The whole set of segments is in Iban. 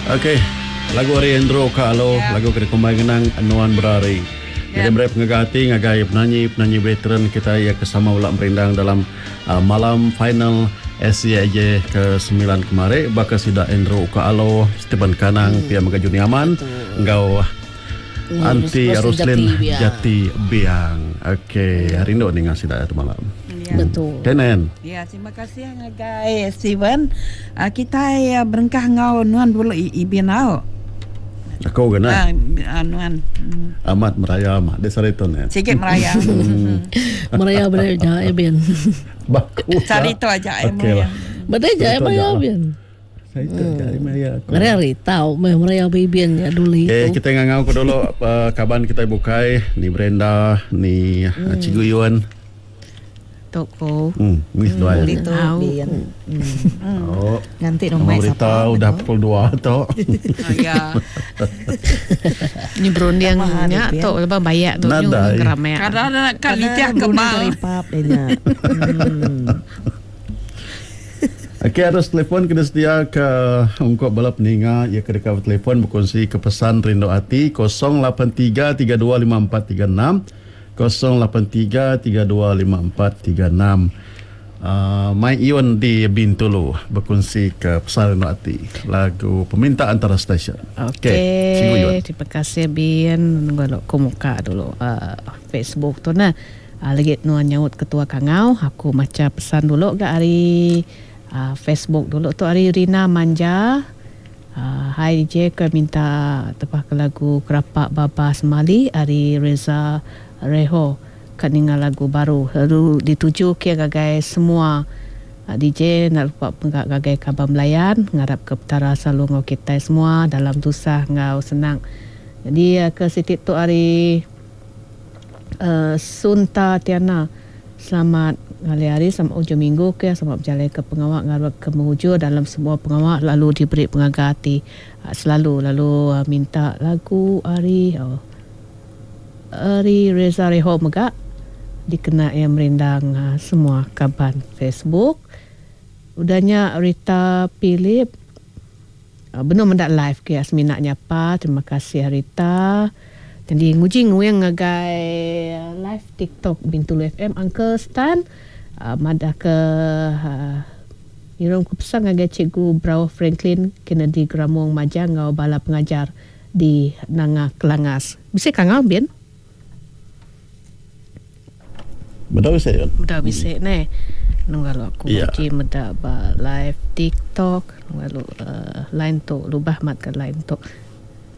Okey, lagu ari Andrew Ka Alo, lagu ke dikumbai ngenang Nuan Berari. Jadi meri pengaga ati ngagai penanyi-penanyi veteran kitai iya ke sama bela merindang dalam malam final SCAJ ke semilan kemari baka sida Andrew Uka Alo, Stephen Kanang, pia mega Juni Aman enggau Aunty Roslyn Jati Biang. Okey, rindu ninga sida tu malam. Betul. Kenen. Ya, terima kasih ngagai Steven. Kitai berengkah enggau nuan dulu Ibin au. Aku ke nah. Nuan. Amat meraya mah di sehari tu nen. Sigi meraya. Meraya beda ja Ibin. Baku. Sehari tu aja ai meraya. Beda ja meraya Ibin. Sehari tu aja ai meraya aku. Meraya hari tau meh meraya Ibin nya duli tu. Okay, kita ngangau ke dulu kaban kitai bukai ni Brenda ni Cikgu Yun. Tu ko. Hmm, mih seduai. Beli tu bin. Oh. Nganti rumah berita udah pukul 2 tu. Ya. Ni berunding nya tu lepas bayak tu nyu ngeramek. Kada kan nitih ke bal. Ripap dia nya. Okey arus telefon kena sedia ke ungkup bala peninga iya ke deka betelefon bekunsi ke pesan rindu ati 083 32 54 36. 083325436 Mai Iun di Bintulu bekunsi ke pesan rindu ati lagu peminta antara stesen. Okey, okay, terima kasih Bin. Nunggu aku muka dulu uh, Facebook tu nah. Uh, lagi nuan nyaut ketua kangau, aku macha pesan dulu ga ari uh, Facebook dulu tu ari Rina Manja. Hai DJ ke minta tebah ke lagu Kerapak Babas Mali ari Reza Reho ka ninga lagu baru lalu dituju ke ngagai semua DJ enda lupa mega ngagai kaban belayan ngarap ke petara selalu enggau kitai semua dalam tusah enggau senang nyadi ke siti tu ari Sunta Tiana. Selamat ngalih hari, selamat ujung minggu ke, selamat bejalai ke pengawa ngarap ke mujur dalam semua pengawa lalu diberi pengaga ati selalu lalu minta lagu ari ari Reza Reho mega dikena iya merindang semua kaban Facebook. Udah nya Rita Philip Benung meda live ke semina nyapa terima kasih Rita. Nyadi nguji nguing ngagai live tiktok Bintulu FM Uncle Stan madah ke ngirum ke pesan ngagai Cikgu Brauh Franklin Kennedy Gramong Majang enggau bala pengajar di Nanga Kelangas. Bisi kangau bin? Bedau bisi kan? Bedau bisi neh. Nungga lalu aku yeah. uji meda ba live TikTok. Nungga lalu uh, line tu lubah mat ke line tu.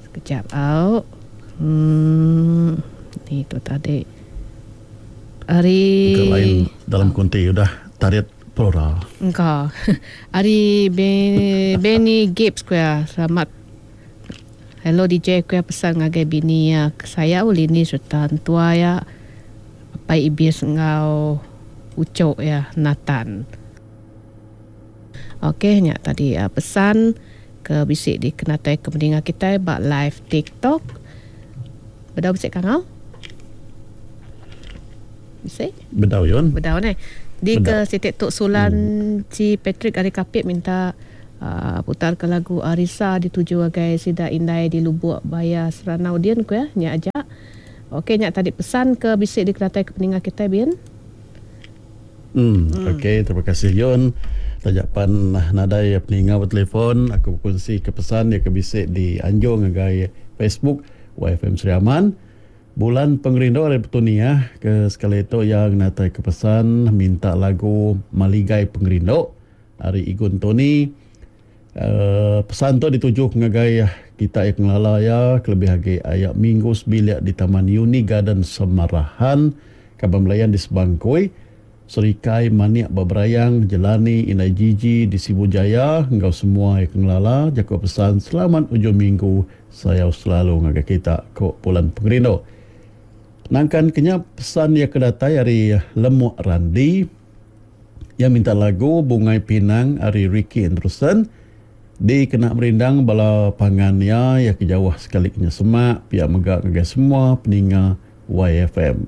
Sekejap au. Hmm, ni tu tadi. Ari ke line dalam kunti udah tarit pelora. Engka. Ari Benny Gibbs kuya. Selamat Hello DJ ku iya pesan ngagai bini iya ke sayau Lini sereta entua iya Apai Ibis enggau uchu iya Nathan. Ok nya tadi pesan ke bisi dikenatai ke meninga kitai ba live tiktok. Bedau bisi kangau? Bisi? Bedau yun. Bedau neh. Di ke siti tu Sulan Ci Patrick ari Kapit minta Putar ke lagu Arisa dituju agai sida indai di Lubuk Baya Seranau din ku iya. Nya aja. Ok nya tadi pesan ke bisi dikenatai ke peninga kitai bin. Em ok terima kasih Yun. Taja pan nadai peninga betelefon aku bekunsi ke pesan iya ke bisi di anjung ngagai Facebook YFM Sri Aman. Bulan Pengerindu ari Petunia ke sekali tu iya ngenatai ke pesan minta lagu Maligai Pengerindu. Ari Igun Tony, pesan tu dituju ngagai kita iya ke ngelala iya kelebih agi aya minggu sebilik di Taman Uni Garden Semarahan, Kaban Belayan di Sebangkui, Serikai Manik ba Berayang, Jelani Indai Jiji di Sibu Jaya enggau semua iya ke ngelala jaku pesan selamat ujung minggu sayau selalu ngagai kita, ku Pulan Pengerindu. Nangkan ke nya pesan iya ke datai ari Lemuk Randi. Iya minta lagu Bungai Pinang ari Ricky Anderson dikena merindang bala pangan iya iya ke jauh sekali ke nya semak pia mega ngagai semua peninga YFM.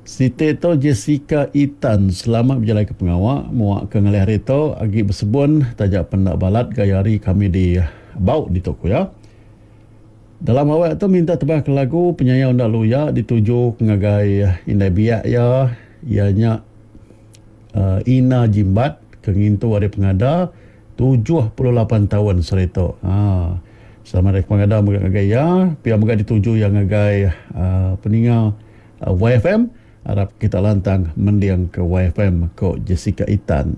Siti tu Jessica Itan selamat bejalaika pengawa muak ke ngalih hari tu agi besebun taja pen enda balat gaya hari kami di Bau ditu ku iya. Dalam awak tu minta tebah ke lagu Penyayau Enda Luya dituju ngagai indai biak iya, iya nya Ina Jimbat ke ngintu hari pengada 78 taun sehari tu. Ha. Selamat hari pengada mega ngagai iya, pia mega dituju iya ngagai peninga YFM. Arap kita lantang mending ke YFM, ko Jessica Itan.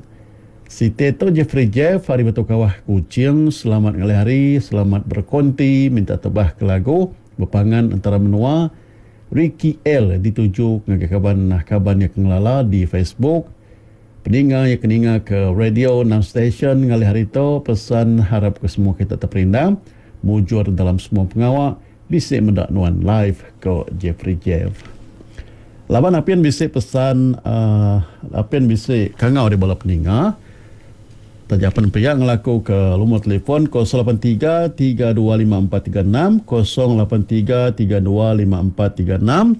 Siti tu Jeffrey Jeff ari Batu Kawah Kuching selamat ngalih hari selamat berkonti minta tebah ke lagu bepangan entara menua Ricky El dituju ngagai kaban kaban iya ke ngelala di Facebook peninga iya ke ninga ke radio enam station ngalih hari tu pesan harap ke semua kita teperindang mujur dalam semua pengawa Bisi meda nuan live ko Jeffrey Jeff. Laban apin bisi pesan uhh apin bisi kangau ari bala peninga. Taja pen pia ngelaku ke lumur telefon 083 325436 083 325436.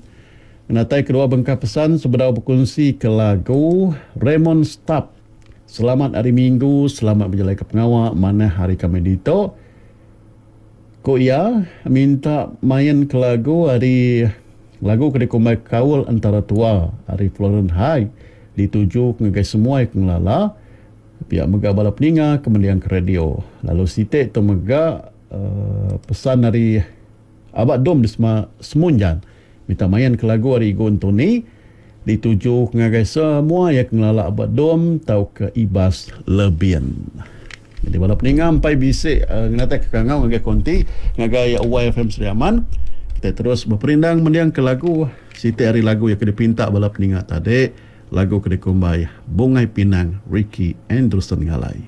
Ngenatai kedua bengkah pesan sebedau bekunsi ke lagu Raymond Stap. Selamat hari minggu, selamat bejalai ke pengawa manah hari kami ditu. Ku iya, minta main ke lagu ari lagu ke dikumbai Kaul Entara Tua ari Florence High dituju ngagai semua ke ngelala pia mega bala peninga ke mending ke radio. Lalu siti tu mega pesan ari Aba Dom di Semunjan minta main ke lagu ari Igu Entoni dituju ngagai semua iya ke ngelala Aba Dom tauka Ibas Lebin. Nyadi bala peninga empai bisi ngenatai ke kangau ngagai konti ngagai YFM Sri Aman. Kitai terus beperindang mending ke lagu siti ari lagu iya ke dipinta bala peninga tadi lagu ke dikumbai Bungai Pinang Ricky Anderson Ngalai.